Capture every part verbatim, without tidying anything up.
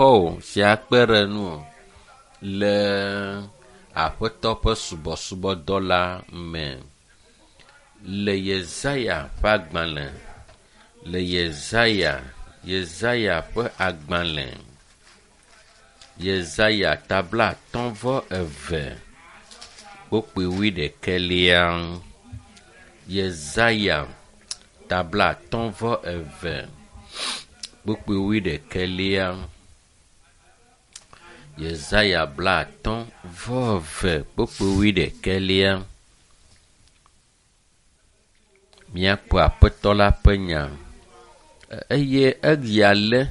Xɔwò si akpe ɖe ŋuwò le Aƒetɔ ƒe subɔsubɔdɔ la me. Le Yesaya ƒe agbalẽ, le Yesaya, Yesaya ƒe agbalẽ, Yesaya ta blaatɔ̃ vɔ eve kpukpui wuiɖekɛlia. Yesaya ta blaatɔ̃ vɔ eve kpukpui wuiɖekɛlia. Yesaya blaatɔ̃ vɔ eve kpukpui wuiɖekɛlia. Míakpɔ Aƒetɔ la ƒe nya eye eya lé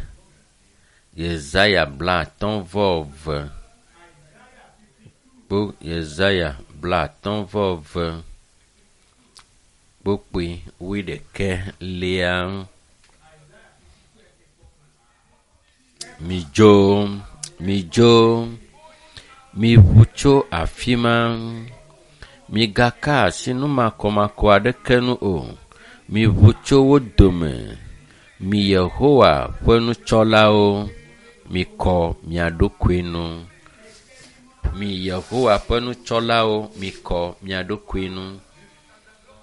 Yesaya blaatɔ̃ vɔ eve kpo Yesaya blaatɔ̃ vɔ eve kpukpui wuiɖekɛlia. Midzo, midzo, miʋu tso afi ma. Migaka asi nu makɔmakɔ aɖeke ŋu o. Miʋu tso wo dome. Mi Yehowa ƒe nutsɔlawo, mikɔ mia ɖokui nu. Mi Yehowa ƒe nutsɔlawo, mikɔ mia ɖokui nu.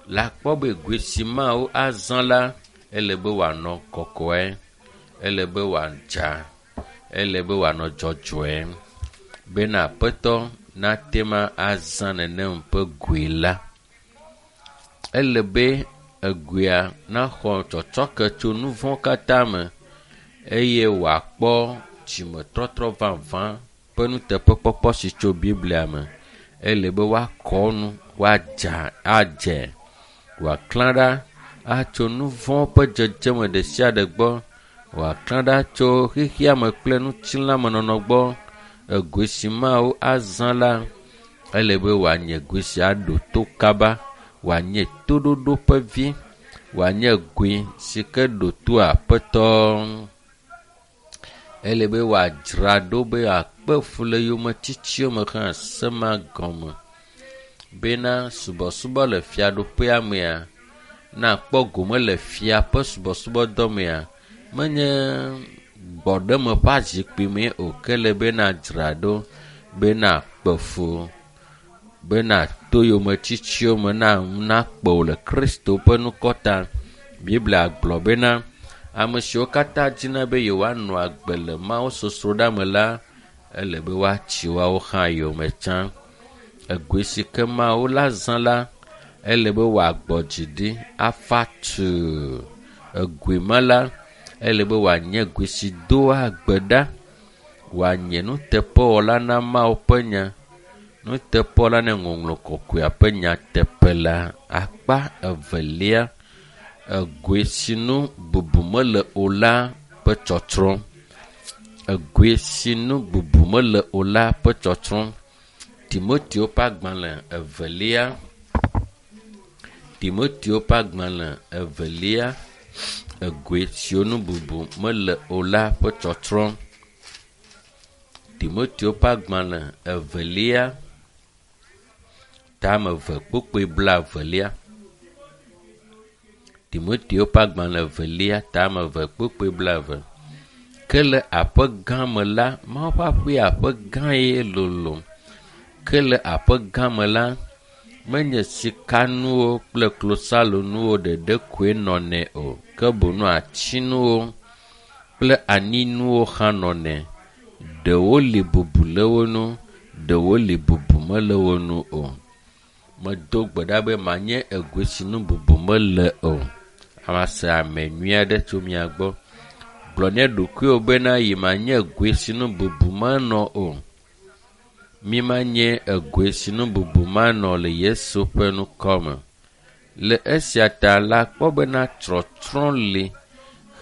Le akpɔ be goe si Mawu azã la, ele be wòanɔ kɔkɔe, ele be wòadza, ele be wòanɔ dzɔdzɔe bena Aƒetɔ nate ma azã nenem ƒe goe la. Ele be egoea naxɔ tsɔtsɔke tso nu vɔ̃ katã me eye wòakpɔ dzimetɔtrɔ vavã ƒe nuteƒekpɔkpɔ si tso Biblia me. Ele be woakɔ nu, woadza adze, wòaklã ɖa atso nu vɔ̃ ƒe dzedzeme ɖe sia ɖe gbɔ, wòaklã ɖa tso xexea me kple ŋutilãmenɔnɔ gbɔ. Egoe si Mawu azã la, ele be wòanye goe si aɖo to kaba, wòanye toɖoɖo ƒe vi, wòanye goe si ke ɖo to Aƒetɔ. Ele be wòadzra ɖo be akpe fu le yometsitsiwo me hã se ma gɔme bena subɔsubɔ le fiaɖuƒea mea, nakpɔ gome le fia ƒe subɔsubɔdɔ mea, menye gbɔɖeme ƒe azikpui mee o, ke ele be nadzra ɖo be nakpe fu, be nato yometsitsiwo me na nakpe wò le Kristo ƒe ŋkɔ ta. Biblia gblɔ bena ame siwo katã dina be yewoanɔ agbe le Mawu sosroɖa me la, ele be woatsi woawo hã yome tsã. Egoe si ke Mawu la zã la, ele be wòagbɔ dzi ɖi afa tuu. Egoe ma la, ele be wòanye goe si doa gbe ɖa, wòanye nuteƒewɔla na Mawu ƒe nya, nuteƒewɔla na ŋɔŋlɔ kɔkɔea ƒe nyateƒe la. Akpa evelia, egoe si nu bubu mele o la ƒe tsɔtsrɔ̃. Egoe si nu bubu mele o la ƒe tsɔtsrɔ̃. Timoteo ƒe agbalẽ evelia, Timoteo ƒe agbalẽ evelia, egoe siwo nu bubu mele o la ƒe tsɔtsrɔ̃. Timoteo ƒe agbalẽ evelia, tame eve kpukpui blaevelia. Timoteo ƒe agbalẽ evelia, tame eve kpukpui blaeve. Ke le aƒe gã me la, Mawu ƒe aƒe aƒe gã ye lolo. Ke le aƒe gã me la, menye sikanuwo kple klosalonuwo ɖeɖe koe nɔnɛ o, ke boŋ atinuwo kple anyinuwo hã nɔnɛ. Ɖewo li bubu le wo ŋu, ɖewo li bubu mele wo ŋu o. Medo gbe ɖa be manye egoe si nu bubu mele o. Mase ame nyui aɖe tso mia gbɔ. Gblɔ ne ɖokuiwò bena yi manye goe si nu bubu manɔ o. Mi manye egoe si nu bubu manɔ le Yesu ƒe ŋkɔ me. Le esia ta la kpɔ bena tsɔtsrɔ̃ li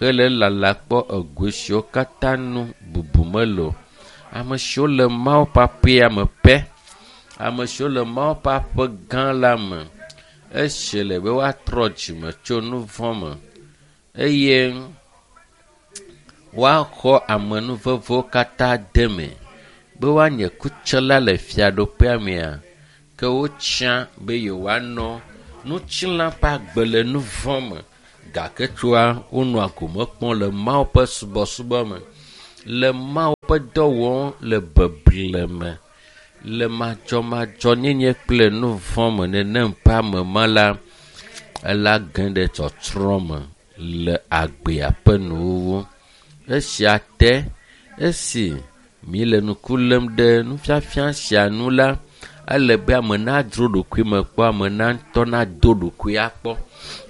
hele lala kpɔ egoe siwo katã nu bubu mele o. Ame siwo le Mawu ƒe aƒea me pɛ, ame siwo le Mawu ƒe aƒe gã la me, esi le be woatrɔ dzime tso nu vɔ̃ me eye woaxɔ amenuvevewo katã de me be woanye kutsela le fiaɖuƒea mea, ke wotsia be yewoanɔ ŋutilã ƒe agbe le nu vɔ̃ me gake tsoa wonɔa gome kpɔm le Mawu ƒe subɔsubɔ me, le Mawu ƒe dɔ wɔm le beble me le madzɔmadzɔnyenye kple nu vɔ̃ me nenem ƒe ame ma la ela ge ɖe tsɔtsrɔ̃ me le agbea ƒe nuwuwu. Esia te esi mi le ŋku lém ɖe nufiafia sia nu la, ele be ame nadzro ɖokui me kpɔ, ame na ŋutɔ nado ɖokui akpɔ.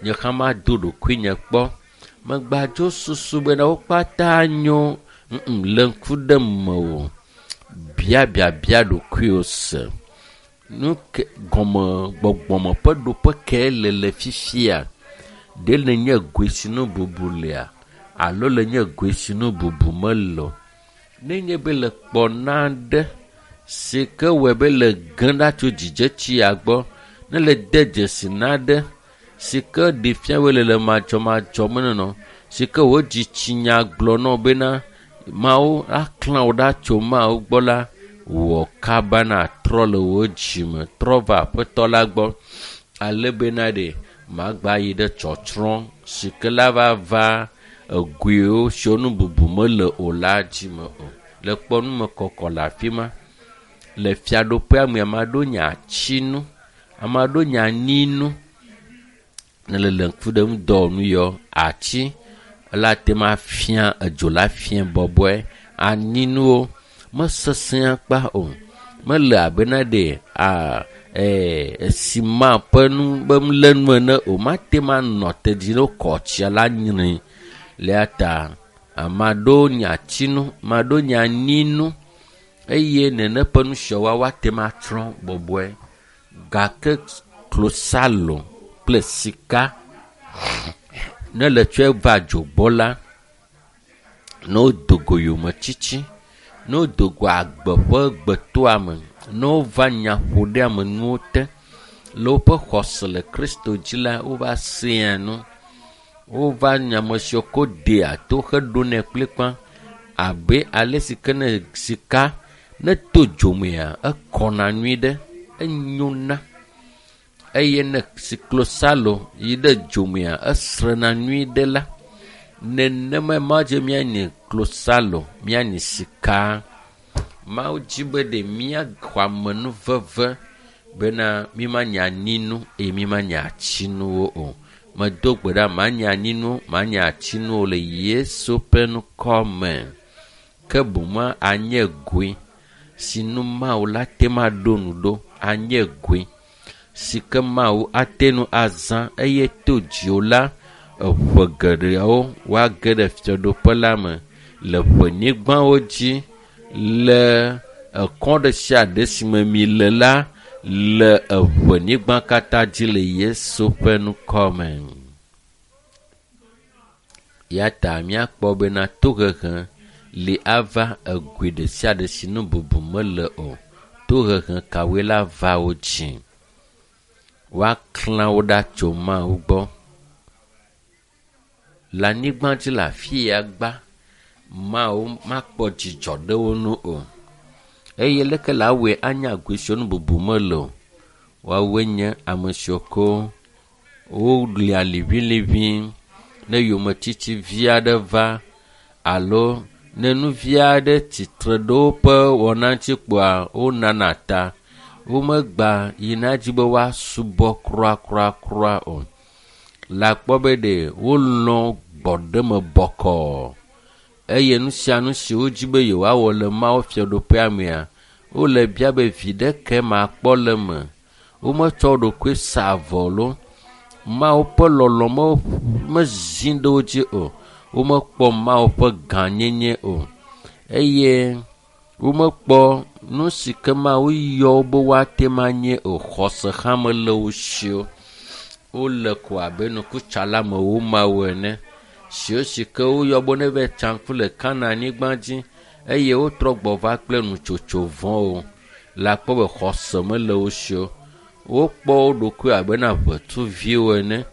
Nye hã mado ɖokuinye kpɔ. Megbadzo susu bena wo katã nyo ŋŋ le ŋku ɖe mewò. Bia biabia ɖokuiwò se. Nu ke gɔme gbɔgbɔme ƒe ɖoƒe ke le le fifia. Ɖe le nye goe si nu bubu lea alo le nye goe si nu bubu mele o. Nenye be le kpɔ naɖe si ke wɔe be le ge ɖa tso dzidzetsia gbɔ, ne le de dzesi naɖe si ke ɖe fia be le le madzɔmadzɔ me nɔnɔ, si ke wò dzitsinya gblɔ na wò bena Mawu aklã wò ɖa tso Mawu gbɔ la, wɔ kaba natrɔ le wò dzime, trɔ va Aƒetɔ la gbɔ ale bena ɖe magba yi ɖe tsɔtsrɔ̃ si ke la va va egoewo siwo nu bubu mele o la dzime o. Le kpɔ numekɔkɔ le afi ma. Le fiaɖuƒea me, ame aɖewo nye atsinu, ame aɖewo nye anyinu. Ne le le ŋku ɖe ŋudɔwɔnu yɔ atsi la te ma fia edzo la fia bɔbɔe. Anyinuwo mesesẽ akpa o. Mele abena ɖe a ee esima ƒe nu be lenu ene o. Mate ma nɔ te dzi ne wokɔ tsia la nyre. Le ta ame aɖewo nye atsinu, ame aɖewo nye anyinu eye nene ƒe nu siawo woate ma tsrɔ̃ bɔbɔe. Gake klosalo kple sika ne le tsɔe va dzo gbɔ la, ne wodo go yometiti, ne wodo go agbe ƒe gbetoame, ne wova nyaƒoɖeamenuwo te le woƒe xɔse le Kristo dzi la, wova sea nu. Wova nye ame siwo ko dea to heɖonɛ kplikpa abe ale si ke ne sika ne to dzomea ekɔna nyui ɖe, enyona eye ne klosalo yi ɖe dzomea esrena nyui ɖe la, nenema Mawu dzi míanyi klosalo, míanyi sika. Mawu dzi be ɖe míaxɔ amenuveve bena mímanye anyinu eye mímanye atsinuwo o. Medo gbe ɖa manye anyinu, manye atsinuwo le Yesu ƒe ŋkɔ me. Ke boŋ anye goe si nu Mawu la te ma ɖo nu ɖo, anye goe si ke Mawu ate ŋu azã eye to dziwò la, eʋe geɖeawo woage ɖe fiaɖuƒe la me le ʋenyigbawo dzi le ekɔ ɖe sia ɖe si me mi le la le eʋenyigba katã dzi le Yesu ƒe ŋkɔ me. Ya ta míakpɔ bena tohehe li ava egoe ɖe sia ɖe si nu bubu mele o. Tohehe kawoe la va wo dzi? Woaklã wo ɖa tso Mawu gbɔ. Le anyigba dzi le afi ya gba, Mawu makpɔ dzidzɔ ɖe wo ŋu o. Eye leke la wɔe anya goe siwo nu bubu mele o? Woawoe nye ame siwo ko wolia liʋiliʋi ne yometiti vi aɖe va alo ne nu vi aɖe tsitre ɖe woƒe wɔna ŋuti kpoa wonana ta. Womegba yina dzi be woasubɔ kura o. Le akpɔ be ɖe wolɔ̃ gbɔɖeme bɔkɔɔ eye nu sia nu si wodzi be yewoawɔ le Mawu fiaɖuƒea mea, wole bia be viɖe ke makpɔ le eme. Wometsɔ wo ɖokui sa avɔ lo. Mawu ƒe lɔlɔ̃ me mezi ɖe wo dzi o. Womekpɔ Mawu ƒe gãnyenye o eye womekpɔ nu si ke Mawu yɔ wo be woate ŋu anye o. Xɔse hã mele wo si o. Wole ko abe nukutsalamewo mawo ene siwo si ke woyɔ be ne va tsa ŋku le Kananyigba dzi eye wotrɔ gbɔ va kple nutsotso vɔ̃wo. Le akpɔ be xɔse mele wo si o. Wokpɔ wo ɖokui abena ʋetuviwo ene.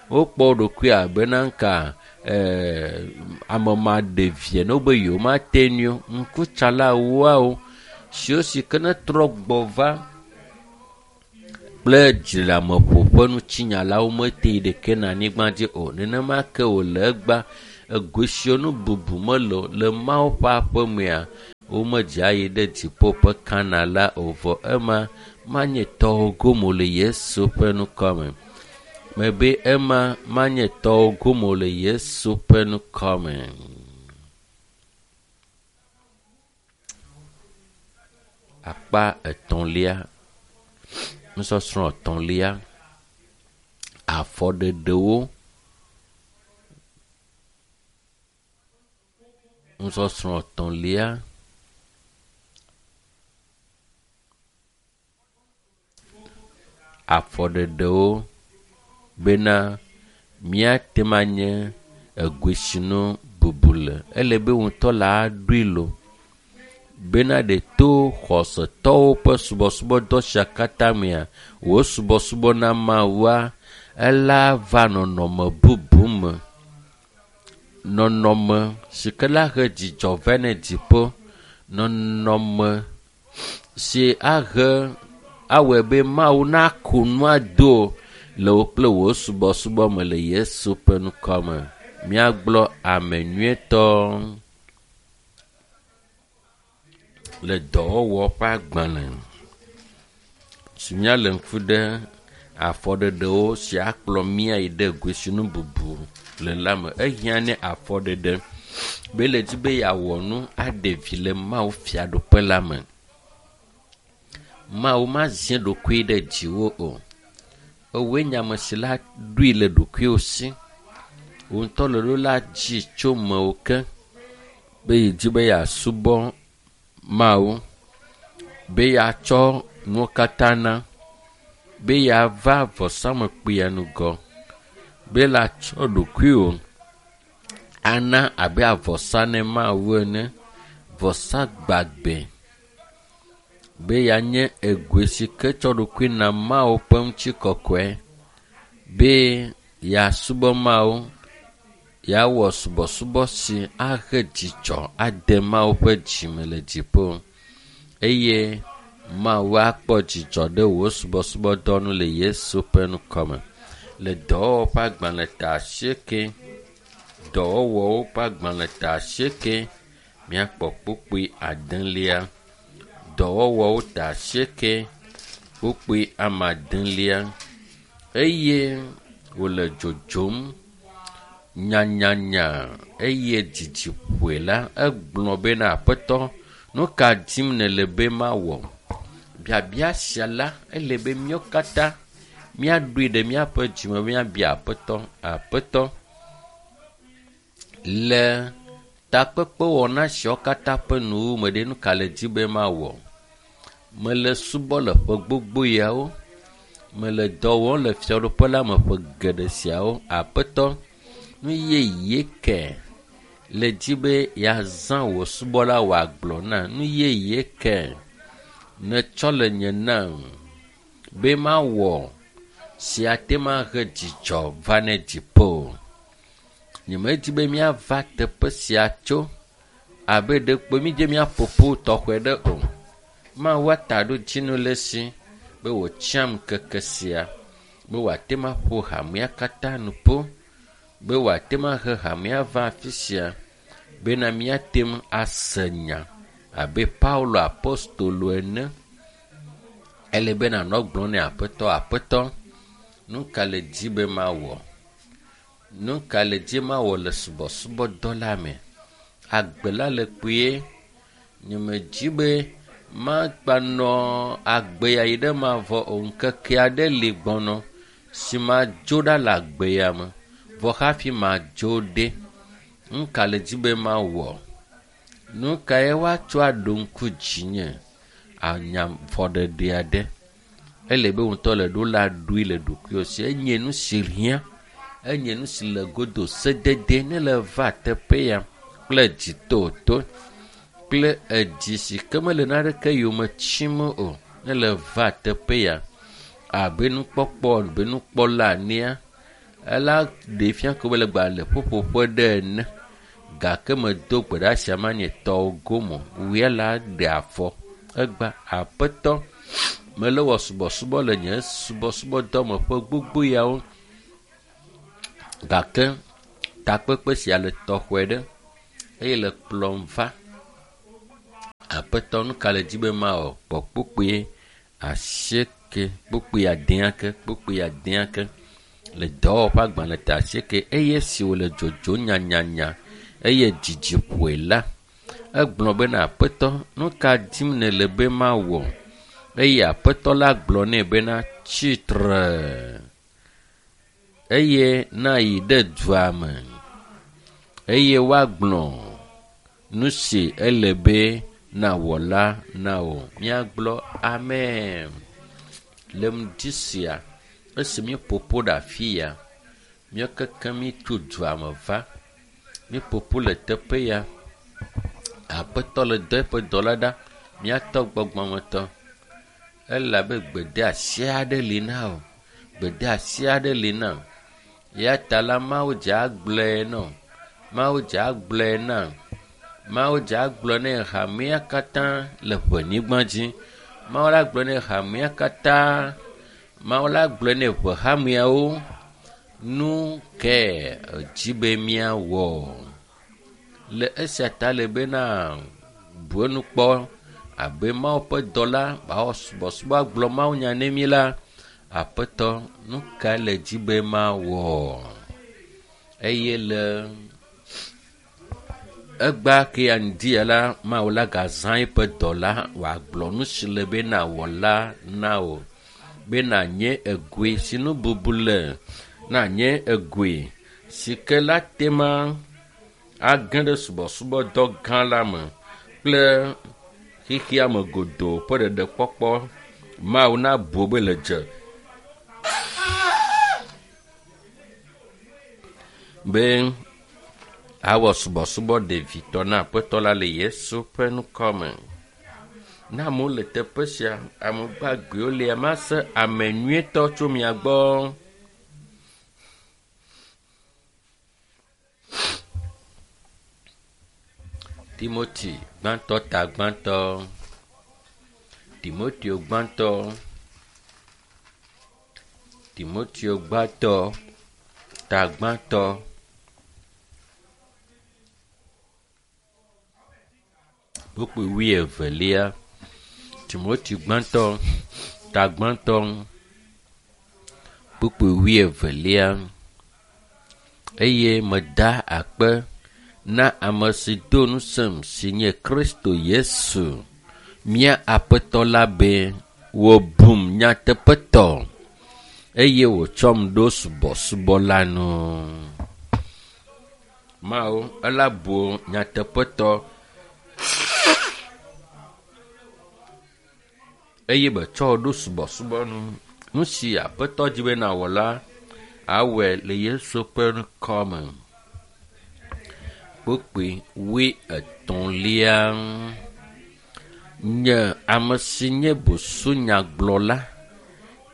Wokpɔ wo ɖokui abena ŋka ɛɛ ame maɖevi ene wobe yewomate ŋui o. Ŋkutsalawoawo siwo si ke ne trɔ gbɔ va kple dziɖeleameƒo ƒe nutsinyalawo mete yi ɖeke na anyigba dzi o. Nenema ke wòle egba egoe siwo nu bubu mele o le Mawu ƒe aƒemea, Womedze ayi ɖe dziƒo ƒe Kana la o vɔ ema manye tɔwo gome le Yesu ƒe ŋkɔ me. Mebe ema manye tɔwo gome le Yesu ƒe ŋkɔ me. Akpa etɔ̃lia, nusɔsrɔ̃ etɔ̃lia, afɔɖeɖewo. Nusɔsrɔ̃ etɔ̃lia, afɔɖeɖewo bena míate ŋu anye egoesinu bubu le. Ele be ŋutɔ la ɖoe lo bena ɖe to xɔsetɔwo ƒe subɔsubɔdɔ sia katã mea, wò subɔsubɔ na Mawua, ela va nɔnɔme bubu me. Nɔnɔme si ke la he dzidzɔ vɛ ne dziƒo, nɔnɔme si ahe awɔe be Mawu naku nua do le wò kple wò subɔsubɔ me le Yesu ƒe ŋkɔ me. Míagblɔ ame nyuietɔ le dɔwɔwɔ ƒe agbalẽ si míale ŋku ɖe afɔɖeɖewo si akplɔ mía yi ɖe goesinu bubu le la me. Ehiã ne afɔɖeɖe be le dzi be yeawɔ nu aɖe vi le Mawu fiaɖuƒe la me. Mawu mazi ɖokui ɖe dziwò o. Ewoe nye ame si la ɖoe le ɖokuiwò si. Wò ŋutɔ le ɖo la dzi tso mewò ke be yedzi be yeasubɔ Mawu, be yeatsɔ nuwo katã na, be yeava vɔsamlekpuia ŋgɔ, be la tsɔ ɖokuiwò ana abe avɔsa ne Mawu ene, vɔsa gbagbe, be yeanye egoe si ke tsɔ ɖokui na Mawu ƒe ŋutikɔkɔe, be yeasubɔ Mawu, yeawɔ subɔsubɔ si ahe dzidzɔ ade Mawu ƒe dzime le dziƒo eye Mawu akpɔ dzidzɔ ɖe wò subɔsubɔdɔ nu le Yesu ƒe ŋkɔ me. Le dɔwɔwɔ ƒe agbalẽ ta asieke, dɔwɔwɔwo ƒe agbalẽ ta asieke, míakpɔ kpukpui adelia. Dɔwɔwɔwo ta asieke, kpukpui ame adelia. Eye wòle dzodzom nyanyanya eye dzidzi ƒoe la, egblɔ bena Aƒetɔ, nu ka dim nèle be mawɔ? Biabia sia la, ele be míawo katã míaɖoe ɖe míaƒe dzime míabia Aƒetɔ, Aƒetɔ, le takpekpewɔna siawo katã ƒe nuwuwu me ɖe, nu ka le dzi be mawɔ? Mele subɔ le ƒe gbogbo yawo, mele dɔ wɔm le fiaɖuƒe la me ƒe geɖe siawo. Aƒetɔ, nu yeye ke le dzi be yeazã wò subɔla wòagblɔ na. Nu yeye ke netsɔ le nye nam be mawɔ si ate ŋu ahe dzidzɔ va ne dziƒo. Nyemedi be míava teƒe sia tso abe ɖekpo mídze míaƒo ƒu tɔxɛ ɖe o. Mawu ataɖodzinu le esi be wòtsiam ŋkeke sia be wòate ŋu aƒo hamea katã nu ƒu, be wòate ŋu ahe hamea va afi sia bena míate ŋu ase nya abe Paulo apostolo ene. Ele be nànɔ gblɔm nɛ Aƒetɔ, Aƒetɔ, nu ka le dzi be mawɔ? Nu ka le dzi mawɔ le subɔsubɔdɔ la me? Agbe la le kpuie. Nyemedzi be magbanɔ agbe ya yi ɖe mavɔ o. Ŋkeke aɖe li gbɔnɔ si madzo ɖa le agbe ya me. Vɔ hafi madzo ɖe, nu ka le dzi be mawɔ? Nu kae woatsɔ aɖo ŋku dzinye? Anya fɔɖeɖe aɖe. Ele be ŋutɔ le ɖo la ɖoe le ɖokuiwò si. Enye nu si hiã, enye nu si le godo sedede ne le va teƒe ya kple dzitoto kple edzi si ke mele naneke yome tsim o ne le va teƒe ya abe nukpɔkpɔ abe nukpɔla enea, ela ɖe fia ko be le gba le ƒuƒoƒe ɖe ene gake medo gbe ɖe asia manye tɔwo gome o. Wòe la ɖe afɔ. Egba Aƒetɔ, mele wɔ subɔsubɔ le nye subɔsubɔdɔ me ƒe gbogbo yawo gake takpekpe sia le tɔxɛ ɖe eye le kplɔm va Aƒetɔ nu ka le dzi be mawɔ? Kpɔ kpukpui asieke, kpukpui adea ke, kpukpui adea ke le dɔwɔƒe agbalẽ ta asieke eye esi wòle dzodzom nyanyanya eye dzidzi ƒoe la, egblɔ bena aƒetɔ nu ka dim nèle be mawɔ? Eye aƒetɔ la gblɔ nɛ bena tsitre eye nayi ɖe dua me eye woagblɔ nu si ele be nawɔ la na wò. Míagblɔ amen. Le ŋdi sia esi míeƒoƒo ɖe afi ya, míekeke míetso dua me va. Míeƒoƒo le teƒe ya. Aƒetɔ le dɔ eƒe dɔla ɖa. Míatɔ gbɔgbɔmetɔ. Elabe gbedeasi aɖe li na wò. Gbedeasi aɖe li na wò. Ya ta la Mawu dze agblɔe na wò. Mawu dze agblɔe na wò. Mawu dze agblɔ nɛ hamea katã le ʋenyigba dzi. Mawu la gblɔ nɛ hamea katã. Mawu la gblɔ nɛ ʋehameawo. Nu ke edzi be míawɔ. Le esia ta le bena bu enu kpɔ abe Mawu ƒe dɔla awɔ subɔsubɔ agblɔ mawunya ne mí la, aƒetɔ nu ka le dzi be mawɔ? Eye le egbea ke ya ŋdi ya la, Mawu la gazã eƒe dɔla wòagblɔ nu si le be nawɔ la na wò. Be nànye egoe si nu bubu le, nànye egoe si ke la tema age ɖe subɔsubɔdɔ gã la me kple xexea me godoo ƒe ɖeɖekpɔkpɔ. Mawu nabu be le dze be awɔ subɔsubɔ ɖevitɔ na aƒetɔ la le Yesu ƒe ŋkɔ me. Ne amewo le teƒe sia, ame gbagbewo lia, mase ame nyuietɔ tso mia gbɔ. Timoti gbãtɔ ta gbãtɔ. Timoteo gbãtɔ. Timoteo gbãtɔ ta gbãtɔ. Kpukpui wuievelia. Timoteo gbãtɔ ta gbãtɔ. Kpukpui wuievelia. Eye meda akpe na ame si do ŋusẽm si nye Kristo Yesu, mía Aƒetɔ la be wòbum nyateƒetɔ eye wòtsɔm ɖo subɔsubɔ la nu. Mawu ela bu nyateƒetɔ eye betsɔ wò ɖo subɔsubɔ nu. Nu si Aƒetɔ dzi be nawɔ la, awɔe le Yesu ƒe ŋkɔ me. Kpukpui wuietɔ̃lia. Nye ame si nye busunyagblɔla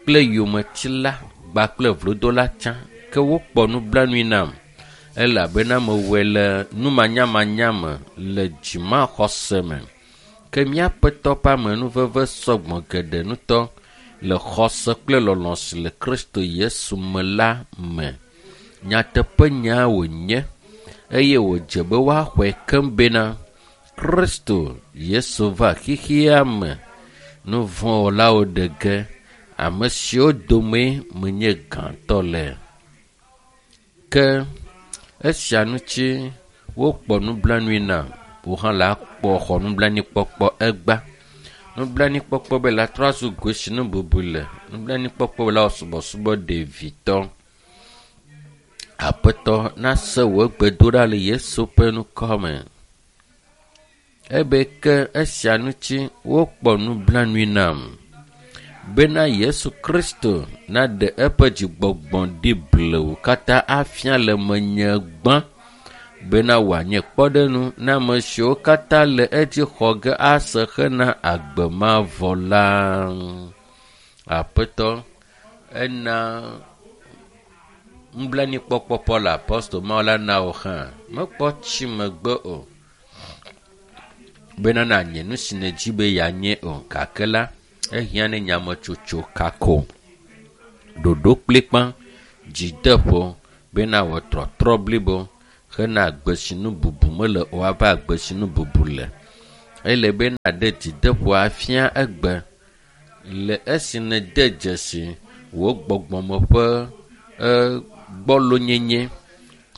kple yometila kpakple vlodola tsã ke wokpɔ nublanui nam elabena mewɔe le numanyamanya me le dzimaxɔse me. Ke mía Aƒetɔ ƒe amenuveve sɔgbɔ geɖe ŋutɔ le xɔse kple lɔlɔ̃ si le Kristo Yesu me la me. Nyateƒenya wònye eye wòdze be woaxɔe keŋ bena Kristo Yesu va xexea me nu vɔ̃wɔlawo ɖe ge, ame siwo dome menye gãtɔ le. Ke esia ŋuti wokpɔ nublanui nam, wò hã la kpɔ xɔ nublanuikpɔkpɔ egbea. Nublanuikpɔkpɔ be la trɔ azu goe si nu bubu le. Nublanuikpɔkpɔ be la wɔ subɔsubɔ ɖevitɔ. Aƒetɔ nase wò gbedoɖa le Yesu ƒe ŋkɔ me. Ebe ke esia ŋuti wokpɔ nublanui nam bena Yesu Kristo naɖe eƒe dzigbɔgbɔ ɖi blewu katã afia le menye gbã bena wòanye kpɔɖeŋu na ame siwo katã le edzi xɔ ge ase hena agbe mavɔ la. Aƒetɔ ena nublanuikpɔkpɔ Paul apostol Mawu la na wò hã. Mekpɔ tsi megbe o bena nànye nu si nèdi be yeanye o gake la ehiã ne nyametsotso kako, ɖoɖo kplikpa, dzideƒo bena wò trɔtrɔ blibo hena agbe si nu bubu mele o ava agbe si nu bubu le. Ele be naɖe dzideƒo afia egbe le esi nède dzesi wò gbɔgbɔme ƒe gbɔlonyenye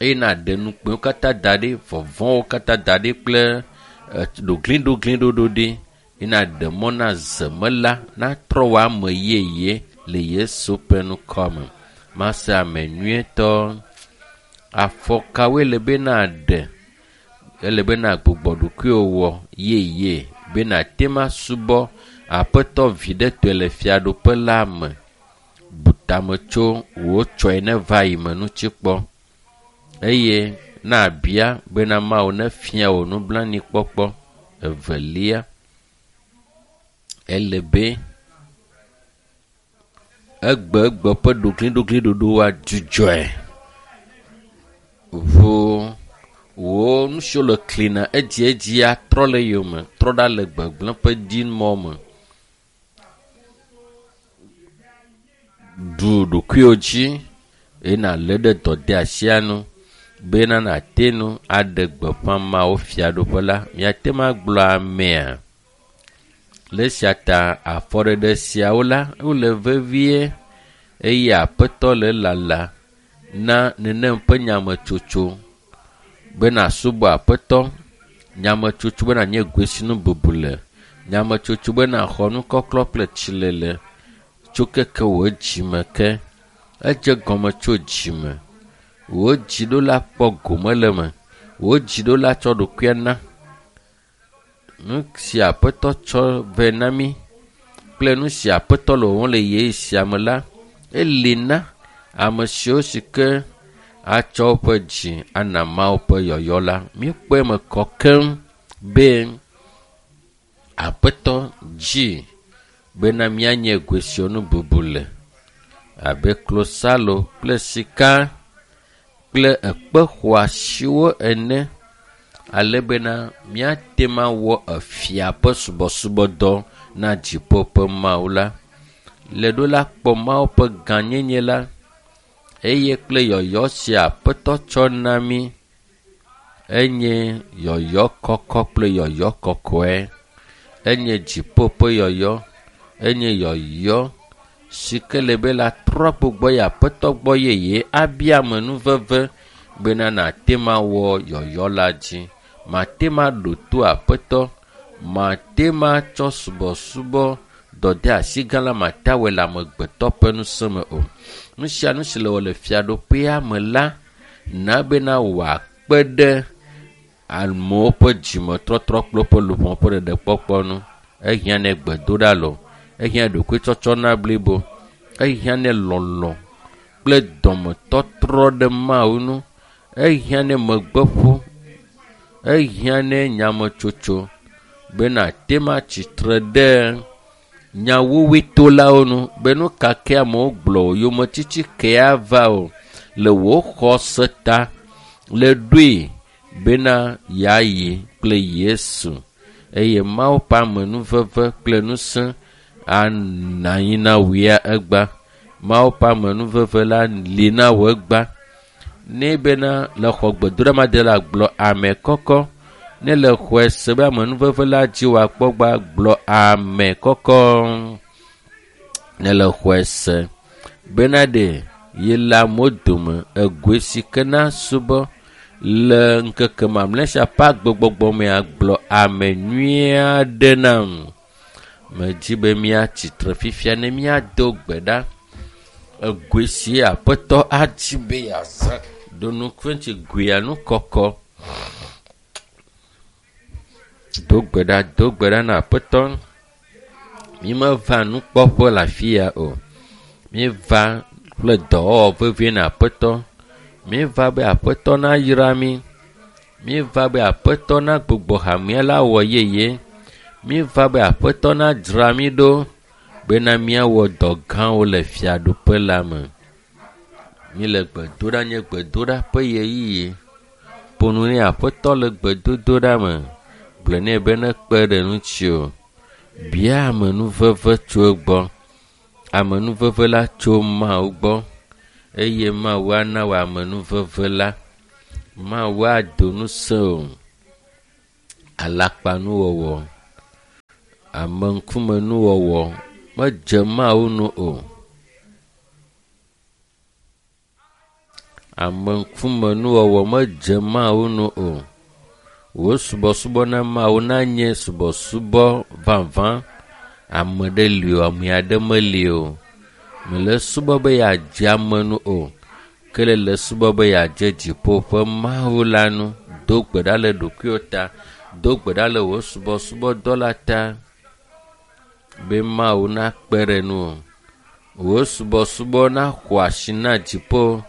eye naɖe nukpewo katã da ɖi, vɔvɔ̃wo katã da ɖi kple ɖogliɖogliɖoɖo ɖi eye naɖe mɔ na zemela natrɔ wò ame yeye le Yesu ƒe ŋkɔ me. Mase ame nyuietɔ. Afɔ kawoe le be naɖe? Ele be nagbugbɔ ɖokuiwò wɔ yeye be nàte ŋu asubɔ Aƒetɔ viɖetɔe le fiaɖuƒe la me. Bu tame tso wò tsɔe neva yi me ŋuti kpɔ eye nabia bena Mawu nefia wò nublanuikpɔkpɔ. Evelia, ele be egbegbe ƒe ɖogliɖogliɖoɖowoa dzudzɔe. Ʋu wò nu siwo le klina edziedzia trɔ le yome, trɔ ɖa le gbegblẽ ƒe dzimɔ me. Ɖu ɖokuiwò dzi eye nàlé ɖe dɔdeasia nu bena nàte ŋu aɖe gbeƒã Mawu fiaɖuƒe la. Miate ŋu agblɔ amea. Le esia ta afɔɖeɖe siawo la wole vevie eye Aƒetɔ le lala na nenem ƒe nyametsotso be nàsubɔ Aƒetɔ, nyametsotso be nànye goesinu bubu le, nyametsotso be nàxɔ nukɔklɔ kple tsilele tso keke wò dzime ke. Edze gɔme tso dzime. Wò dziɖola kpɔ gome le eme. Wò dziɖola tsɔ ɖokuia na. Nu si Aƒetɔ tsɔ vɛ na mí kple nu si Aƒetɔ le wɔwɔm le ɣeyiɣi sia me la, eli na ame siwo si ke atsɔ woƒe dzi ana Mawu ƒe yɔyɔ la. Míekpɔe me kɔ keŋ be Aƒetɔ dzi bena míanye goesiwo nu bubu le abe klosalo kple sika kple ekpe xɔasiwo ene ale bena míate ŋu awɔ efia ƒe subɔsubɔdɔ na dziƒo ƒe Mawu la. Le ɖo la kpɔ Mawu ƒe gãnyenye la eye kple yɔyɔ si Aƒetɔ tsɔ na mí enye yɔyɔ kɔkɔ kple yɔyɔ kɔkɔe. Enye dziƒo ƒe yɔyɔ, enye yɔyɔ si ke le be la trɔ gbugbɔ yi Aƒetɔ gbɔ yeye abia amenuveve bena nàte ŋu awɔ yɔyɔ la dzi. Mate ŋu aɖo to Aƒetɔ, mate ŋu atsɔ subɔsubɔ dɔdeasi gã la mate awɔe le amegbetɔ ƒe ŋusẽ me o. Nu sia nu si le wɔ le fiaɖuƒea me la, na bena wòakpe ɖe amewo ƒe dzimetɔtrɔ kple woƒe luʋɔ ƒe ɖeɖekpɔkpɔ ŋu. Ehiã nɛ gbedoɖa loo, ehiã ɖokuitsɔtsɔ na blibo, ehiã nɛ lɔlɔ̃ kple dɔmetɔtrɔ ɖe Mawu ŋu, ehiã nɛ megbeƒo, ehiã nɛ nyametsotso be nàte ŋu atsitre ɖe nyawuwuitolawo nu be nu ka ke amewo gblɔ o, yometiti ke ava o le wò xɔse ta le ɖoe bena yeayi kple Yesu eye Mawu ƒe amenuveve kple ŋusẽ anɔ anyi na wò ya egba. Mawu ƒe amenuveve la li na wò egba. Ne bena le xɔ gbedoɖa ma de la gblɔ ame kɔkɔ. Ne le xɔe se be amenuveve la dzi wòakpɔ gba gblɔ ame kɔkɔ. Ne le xɔe se bena ɖe ye le amewo dome egoe si ke na subɔ le ŋkeke mamlɛ sia ƒe agbegbɔgbɔ mea gblɔ ame nyui aɖe nam. Medzi be míatsitre fifia ne míado gbe ɖa. Egoe si Aƒetɔ adi be yeazã ɖo ŋuti goea nu kɔkɔ. Do gbe ɖa, do gbe ɖa na Aƒetɔ. Mímeva nukpɔƒe le afi ya o. Míeva kple dɔwɔwɔ vevie na Aƒetɔ. Míeva be Aƒetɔ nayra mí. Míeva be Aƒetɔ nagbugbɔ hamea la wɔ yeye. Míeva be Aƒetɔ nadzra mí ɖo bena míawɔ dɔ gãwo le fiaɖuƒe la me. Míle gbedoɖa nye gbedoɖa ƒe ɣeyiɣi. Ƒo nu nɛ Aƒetɔ le gbedodoɖa me. Gblɔ nɛ be nekpe ɖe ŋutiwò. Bia amenuveve tso egbɔ. Amenuveve la tso Mawu gbɔ eye Mawu ana wò amenuveve la. Mawu ado ŋusẽ wò. Alakpanuwɔwɔ, ameŋkumenuwɔwɔ medze Mawu nu o. Ameŋkumenuwɔwɔ medze Mawu nu o. Wò subɔsubɔ na Mawu nanye subɔsubɔ vavã. Ame ɖe li o, ame aɖe meli o. Mele subɔ be yeadze ame nu o. Ke le le subɔ be yeadze dziƒo ƒe Mawu la nu. Do gbe ɖa le ɖokuiwò ta. Do gbe ɖa le wò subɔsubɔdɔ la ta be Mawu nakpe ɖe nuwò. Wò subɔsubɔ naxɔ asi na dziƒo.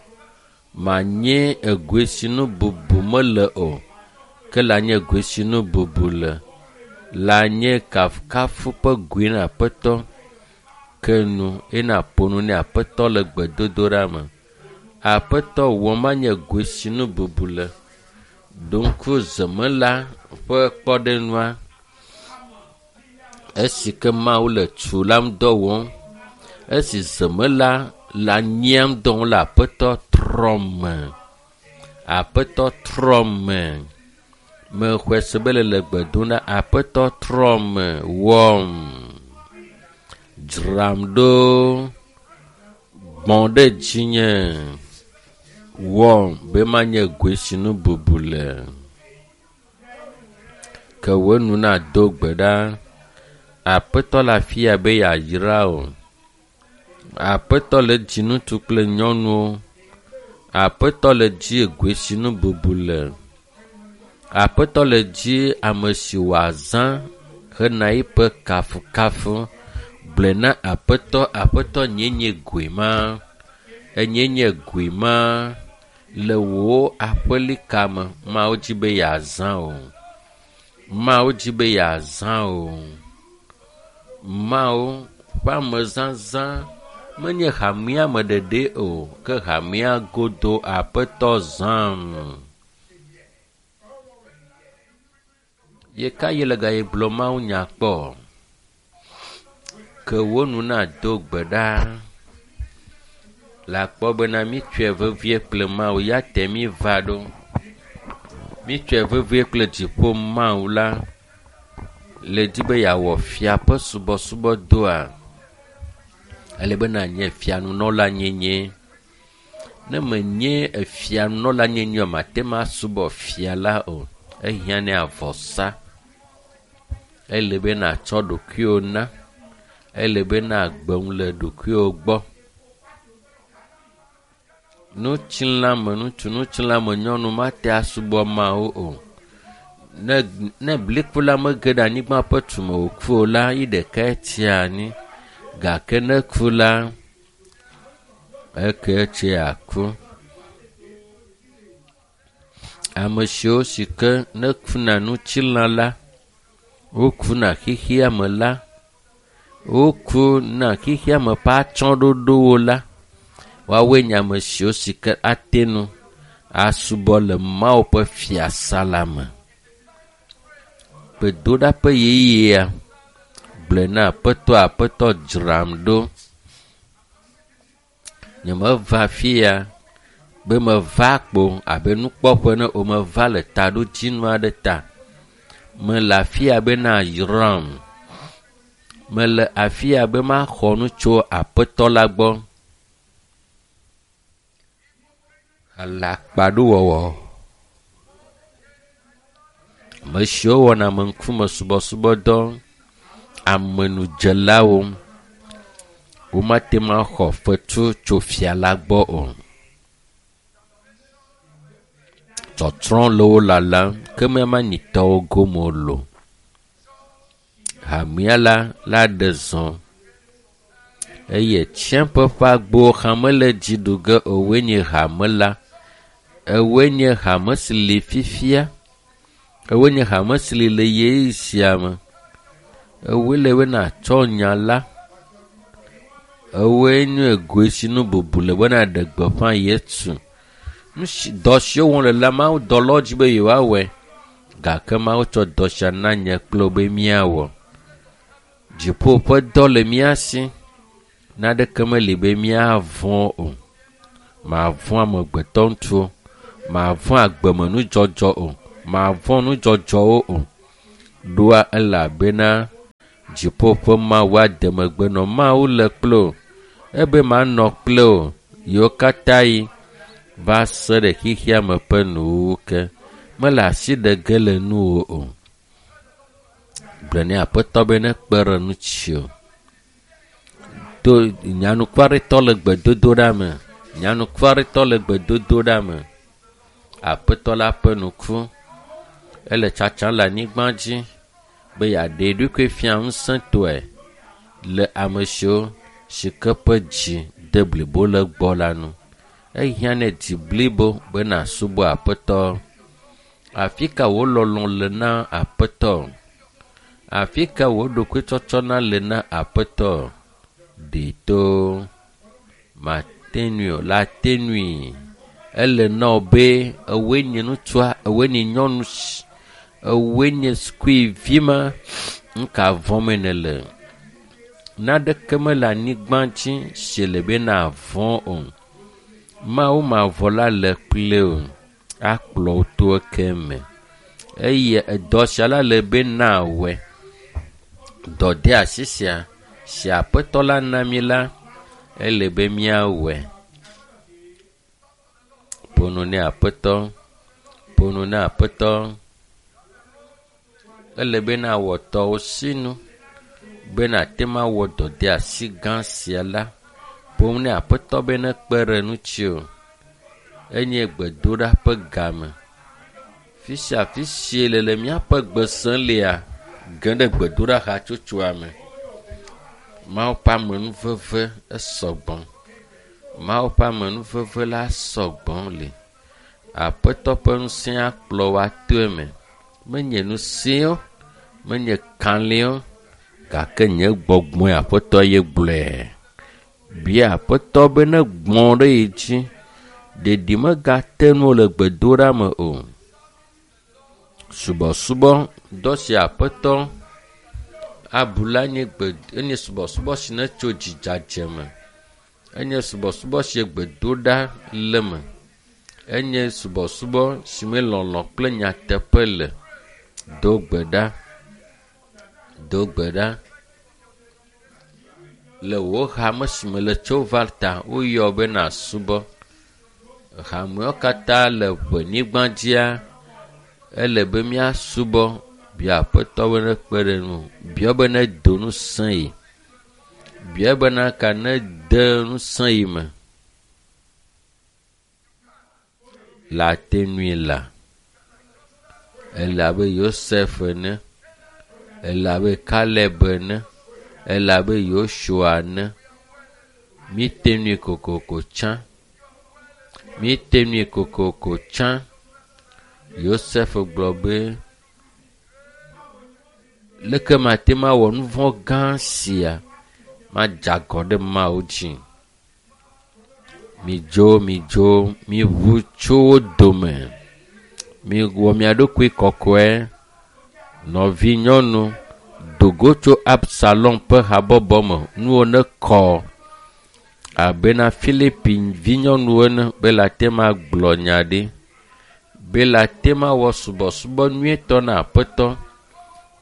Manye egoe si nu bubu mele o, ke la nye goe si nu bubu le. La nye kafukafu ƒe goe na Aƒetɔ. Ke nu eye nàƒo nu ne Aƒetɔ le gbedodoɖa me. Aƒetɔ wɔ manye goe si nu bubu le. Ɖo ŋku zemela ƒe kpɔɖeŋua. Esi ke Mawu le tu la ŋu dɔ wɔm. Esi zemela le anyia ŋu dɔ wɔm le Aƒetɔ trɔ me. Aƒetɔ trɔ me. Mexɔe se be le le gbe dom ɖa. Aƒetɔ trɔ me wɔm. Dzram ɖo. Gbɔ̃ ɖe dzinye. Wɔm be manye goe si nu bubu le. Ke wò nu nado gbe ɖa. Aƒetɔ le afia be yeayra wò. Aƒetɔ le dzi ŋutsu kple nyɔnuwo. Aƒetɔ le dzi goe si nu bubu le. Aƒetɔ le dzi ame si wòazã hena eƒe kafukafu. Gblɔe na Aƒetɔ, Aƒetɔ nyee nye goe ma. Enye nye goe ma le wò aƒelika me. Mawu dzi be yeazã wò. Mawu dzi be yeazã wò. Mawu ƒe amezazã menye hamea me ɖeɖe o, ke hamea godo Aƒetɔ zãm. Ye ka yi le gayi gblɔ Mawu nya kpɔ? Ke wò nu nado gbe ɖa. Le akpɔ bena mítsɔe vevie kple Mawu ya te mí va ɖo. Mítsɔe vevie kple dziƒo Mawu la le di be yeawɔ fia ƒe subɔsubɔdɔa. Ele be nànye fianunɔla nyenye. Ne menye efianunɔla nyenye o, mate ŋu asubɔ fia la o. Ehiã ne avɔsa. Ele be nàtsɔ ɖokuiwò na. Ele be nàgbe nu le ɖokuiwò gbɔ. Nutsilãme ŋutsu, nutsilãme nyɔnu mate asubɔ Mawu o. Ne ne bliku la mege ɖe anyigba ƒe tume wòku o la, yi ɖekae tsia anyi. Gake ne ku la, eke tse aku. Ame siwo si ke ne kuna ŋutilã la, wokuna xexea me la, wokuna xexea me ƒe atsyɔ̃ɖoɖowo la, woawoe nye ame siwo si ke ate ŋu asubɔ le Mawu ƒe fiasa la me. Gbedoɖa ƒe ɣeyiɣia, gblɔe na Aƒetɔ, Aƒetɔ dzram ɖo. Nyemeva afia be meva kpo abe nukpɔƒe ne o, meva le taɖodzinu aɖe ta. Mele afia be nayram. Mele afia be maxɔ nu tso Aƒetɔ la gbɔ. Alakpaɖuwɔwɔ. Ame siwo wɔna ameŋkume subɔsubɔdɔ, amenudzelawo, womate ŋu axɔ fetu tso fia la gbɔ o. Tsɔtsrɔ̃ le wo lalam, ke míamanyitɔwo gome wolo. Hamea la la ɖe zɔ eye tsiẽƒe ƒe agbowo hã mele dzi ɖu ge o. Woe nye hame la. Ewoe nye hame si li fifia. Ewoe nye hame si li le ɣeyiɣi sia me. Ewoe le be nàtsɔ nya la. Ewoe nye goe si nu bubu le be nàɖe gbeƒã Yesu. Nu si dɔ siwo wɔm le la, Mawu dɔlawo dzi be yewoawɔe. Gake Mawu tsɔ dɔ sia na nye kple wò be míawɔ. Dziƒo ƒe dɔ le mía si. Naneke meli be míavɔ̃ o. Mavɔ̃ amegbetɔ ŋutsuwo. Mavɔ̃ agbemenudzɔdzɔ o. Mavɔ̃ nudzɔdzɔwo o. Ɖoa elabena dziƒo ƒe Mawu ade megbe nɔ Mawu le kple wò. Ebe manɔ kple wò yiwo katã yi va se ɖe xexea me ƒe nuwuwu ke. Mele asi ɖe ge le nuwò o. Gblɔ nɛ Aƒetɔ be nekpe ɖe ŋuti o. To nyanukwaretɔ le gbedodoɖa me. Nyanukwaretɔ le gbedodoɖa me. Aƒetɔ la ƒe nuku ele tsatsam le anyigba dzi be yeaɖe eɖokui fia ŋusẽtɔe le ame siwo si ke ƒe dzi de blibo le gbɔ la nu. Ehiã nɛ dzi blibo be nàsubɔ Aƒetɔ. Afi ka wò lɔlɔ̃ le na Aƒetɔ? Afi ka wò ɖokuitsɔtsɔna le na Aƒetɔ? Ɖe to mate ŋui o la te ŋui. Ele na wò be ewoe nye ŋutsua, ewoe nye nyɔnu, ewoe nye sukuvi ma, nu ka vɔ̃m nèle? Naneke mele anyigba dzi si le be nàvɔ̃ o. Mawu mavɔ la le kple wò, akplɔ wò to eke me. Eye edɔ sia la le be nawɔe. Dɔdeasi sia si Aƒetɔ la na mí la, ele be míawɔe. Ƒo nu nɛ Aƒetɔ, ƒo nu nɛ Aƒetɔ. Ele be nawɔ tɔwò sinu be nàte ŋu awɔ dɔdeasi gã sia la. Ƒo nu nɛ Aƒetɔ be nekpe ɖe ŋuti o. Enye gbedoɖa ƒe game. Fi sia fi si le le míaƒe gbe sem lea, ge ɖe gbedoɖa hatsotsoa me. Mawu ƒe amenuveve esɔgbɔ. Mawu ƒe amenuveve la sɔgbɔ li. Aƒetɔ ƒe ŋusẽ akplɔ wò ato eme. Menye ŋusẽo, menye kalẽo, gake nye gbɔgbɔe Aƒetɔ ye gblɔe. Bia Aƒetɔ be negbɔ ɖe ye dzi. Ɖeɖi megate ŋu le gbedoɖa me o. Subɔsubɔ dɔ si Aƒetɔ abu la nye gbe enye subɔsubɔ si netso dzidzadze me. Enye subɔsubɔ si gbedoɖa le me. Enye subɔsubɔ si me lɔlɔ̃ kple nyateƒe le. Do gbe ɖa. Do gbe ɖa. Le wò hame si me le tso va ta, woyɔ be nàsubɔ. Hamewo katã le ʋenyigba dzia, ele be míasubɔ. Bia Aƒetɔ be nekpe ɖe ŋuwò. Bia be nedo ŋusẽ yi. Bia bena ka nede ŋusẽ yi me. Le ate ŋui la. Ele abe Yosef ene. Ele abe Kaleb ene. Ele abe Yosua ene. Míte ŋui kokoko tsã. Míte ŋui kokoko tsã. Yosef gblɔ be, leke mate ŋu awɔ nu vɔ̃ gã sia madze agɔ ɖe Mawu dzi. Midzo, midzo, miʋu tso wo dome. Miwɔ mia ɖokui kɔkɔe. Nɔvinyɔnu, do go tso Absalom ƒe habɔbɔ me. Nuwo nekɔ abena Filipi vinyɔnuwo ene be le ate ŋu agblɔ nya ɖi. Be le ate ŋu awɔ subɔsubɔ nyuietɔ na Aƒetɔ.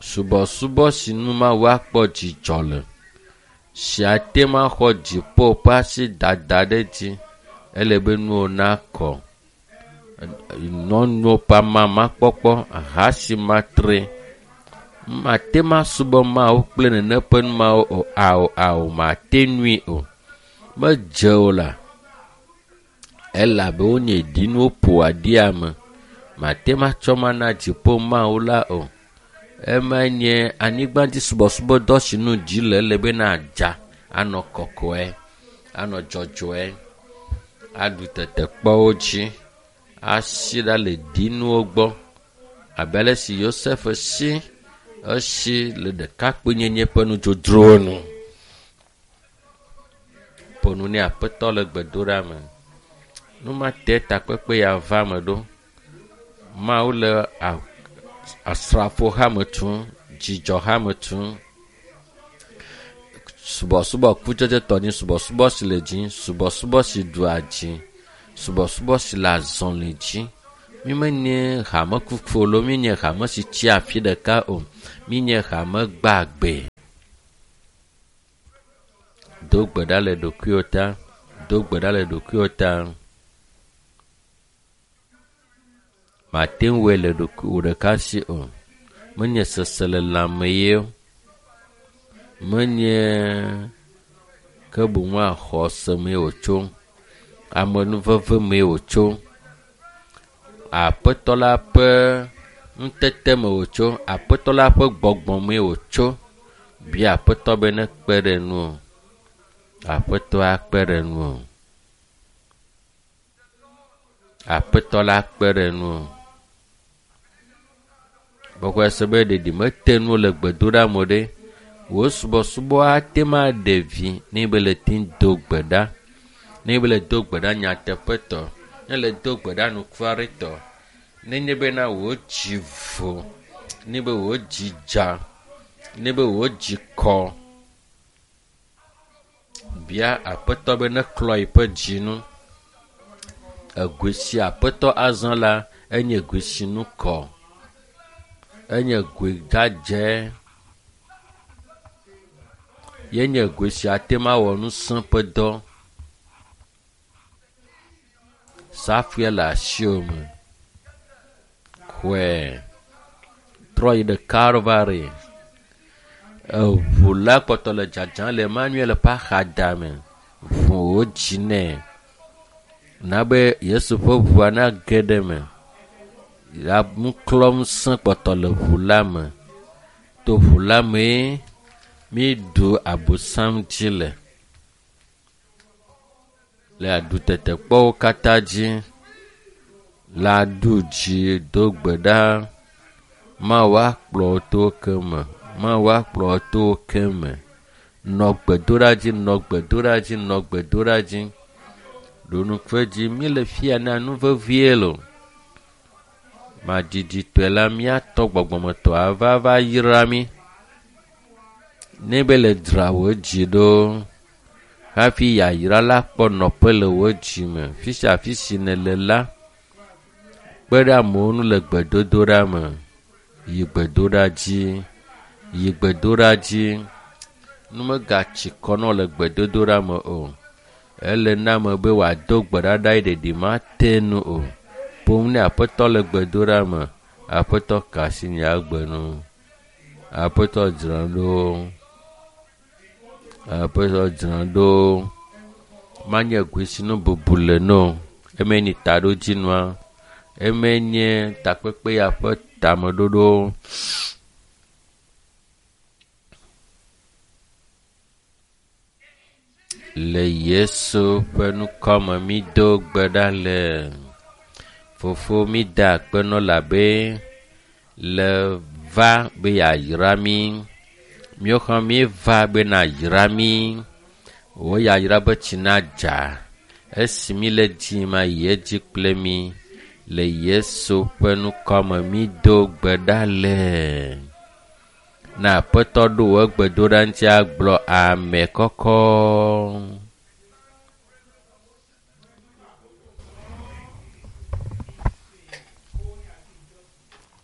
Subɔsubɔ si nu Mawu akpɔ dzidzɔ le. Si ate ŋu axɔ dziƒo ƒe asi dada ɖe dzi. Ele be nuwo nakɔ. Nyɔnuwo ƒe amamakpɔkpɔ, aha si matre. Mate ŋu asubɔ Mawu kple nene ƒe nu mawo o. Ao, ao, mate ŋui o. Medze o la. Elabe wonye ɖinuwo ƒo aɖi ame. Mate ŋu atsɔ ma na dziƒo Mawu la o. Ema nye anyigbadzisubɔsubɔdɔ si nu dzi le ele be nadza anɔ kɔkɔe, anɔ dzɔdzɔe, aɖu tetekpɔwo dzi, asi ɖa le ɖinuwo gbɔ. Abe ale si Yosef si, esi le ɖekakpuinyenye ƒe nudzodzrowo nu. Ƒo nu nɛ Aƒetɔ le gbedoɖa me. Nu ma te takpekpe ya va me ɖo. Mawu le asrafo hame tum, dzidzɔ hame tum. Subɔsubɔ kutsetsetɔ nye subɔsubɔ si le dzi, subɔsubɔ si ɖua dzi, subɔsubɔ si le azɔli dzi. Mi menye hame kuku lo, mi nye hame si tsi afi ɖeka o. Mi nye hame gbagbe. Do gbe ɖa le ɖokuiwò ta. Do gbe ɖa le ɖokuiwò ta. Mate ŋu wɔe le ɖokuiwò ɖeka si o. Menye seselelãme ye o. Menye ke boŋ xɔse mee wòtso. Amenuveve mee wòtso. Aƒetɔ la ƒe ŋutete me wòtso. Aƒetɔ la ƒe gbɔgbɔ mee wòtso. Bia aƒetɔ be nekpe ɖe ŋuwò. Aƒetɔ akpe ɖe ŋuwò. Aƒetɔ la akpe ɖe ŋuwò. Gbɔgbɔ se be ɖeɖi mete ŋu le gbedoɖa me ɖe. Wò subɔsubɔ ate ŋu aɖe vi ne be le te do gbe ɖa. Ne be le do gbe ɖa nyateƒetɔ. Ne le do gbe ɖa nukuaretɔ. Nenye bena wò dzi vo. Ne be wò dzi dza. Ne be wò dzi kɔ. Bia aƒetɔ be neklɔ yiƒe dzi nu. Egoe si aƒetɔ azã la enye goe si nu kɔ. Enye goe dzadzɛ. Yenye goe si ate ŋu awɔ ŋusẽ ƒe dɔ. Safue le asiwò me. Xɔe. Trɔ yi ɖe Kalvari. Eʋu la kpɔtɔ le dzadzam le Emmanuel ƒe axadame. Ʋu wò dzi nɛ. Na be Yesu ƒe ʋua nage ɖe eme. Ya nuklɔŋusẽ kpɔtɔ le ʋu la me. To ʋu la mee mi ɖu abosam dzi le. Le aɖutetekpɔwo katã dzi. Le aɖu dzi do gbe ɖa. Mawu akplɔ wò to ke me. Mawu akplɔ wò to ke me. Nɔ gbedoɖa dzi, nɔ gbedoɖa dzi, nɔ gbedoɖa dzi. Ɖo ŋku edzi, mi le fia na nu vevie lo. Madziditɔe la míatɔ gbɔgbɔmetɔ ava va yra mí. Ne be le dzra wò dzi ɖo hafi yayra la kpɔ nɔƒe le wò dzi me. Fi sia fi si nèle la, kpe ɖe amewo ŋu le gbedodoɖa me. Yi gbedoɖa dzi. Yi gbedoɖa dzi. Nu megatsi kɔ na wò le gbedodoɖa me o. Ele na ame be wòado gbe ɖa ɖa ye ɖeɖi mate ŋu o. Ƒom ne aƒetɔ le gbedoɖa me. Aƒetɔ ka asi nye agbe nu. Aƒetɔ dzra ɖo. Aƒetɔ dzra ɖo. Manye goe si nu bubu le no. Eme nye taɖodzinua. Eme nye takpekpe ya ƒe tameɖoɖo. Le Yesu ƒe ŋkɔme mi do gbe ɖa le. Fofo mi da akpe nɔ labe le va be yeayra mí. Míawo hã míeva be nayra mí. Wò yayra be tsi nadza. Esi mi le dzi ma yi edzi kple mí. Le Yesu ƒe ŋkɔme mi do gbe ɖa le. Na aƒetɔ ɖo wò gbedoɖa ŋuti agblɔ ame kɔkɔ.